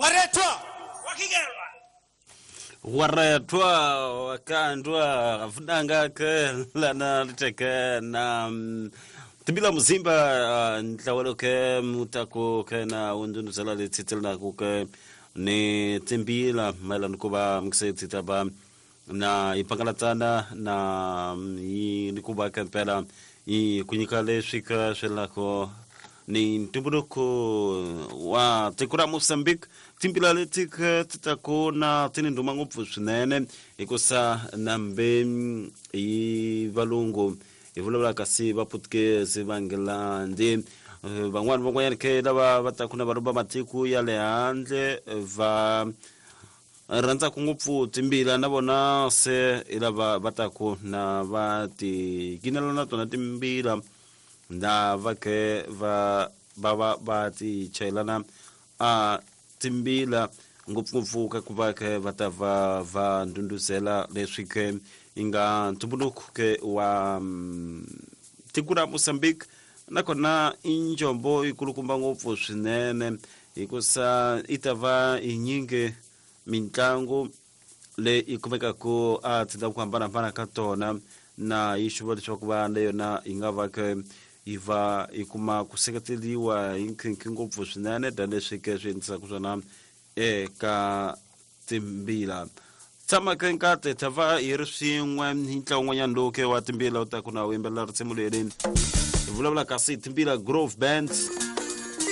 Waretwa wakigelwa. Waretwa wakandwa afunanga ke lana liteke na timbila muzimba ntlawelo ke mutako ke na undunuzela letsitselana ku ke ni timbila mayelana ku va mukise taba na yi pangalatsana na yi ni ku va ke mpela yi ku nyika leswi ka swelako ni ntumbuluko wa tiko ra Mozambique. Timbila leti ke ti ta ku na ti ni ndhuma ngopfu swinene hikusa nambe hi valungu hi vulavula kasi va Portuguese va Nghilandhi, van'wani van'wanyana ke lava va taku na va va matiko ya le handle va rhandzaka ngopfu timbila na vona se hi lava va taku na va ti kinela na tona timbila na va ke va va va va ti chayelana a timbila ngopfungopfu ka ku va ke va ta va va ndhundhuzela leswi ke yi nga ntumbuluko ke wa tiko ra Mozambique. Nakona i njombo yi kulukumba ngopfu swinene hikusa yi ta va yi nyingi mitlangu leyi yi kumekaka a tindhawu ku hambanahambana ka tona na yi xuva leswaku va na yona yi nga va ke yi va yi kuma ku seketeriwa hi nkhinkhi ngopfu swinene tanihileswi ke swi endlisaka swona eka timbila. Tshama ke nkate ta va hi ri swin'we hi ntlawa wun'wanyana lowu ke wa timbila u ta ku na wu yimbelela risimu leri hi vulavula kasi Timbila Grove Band.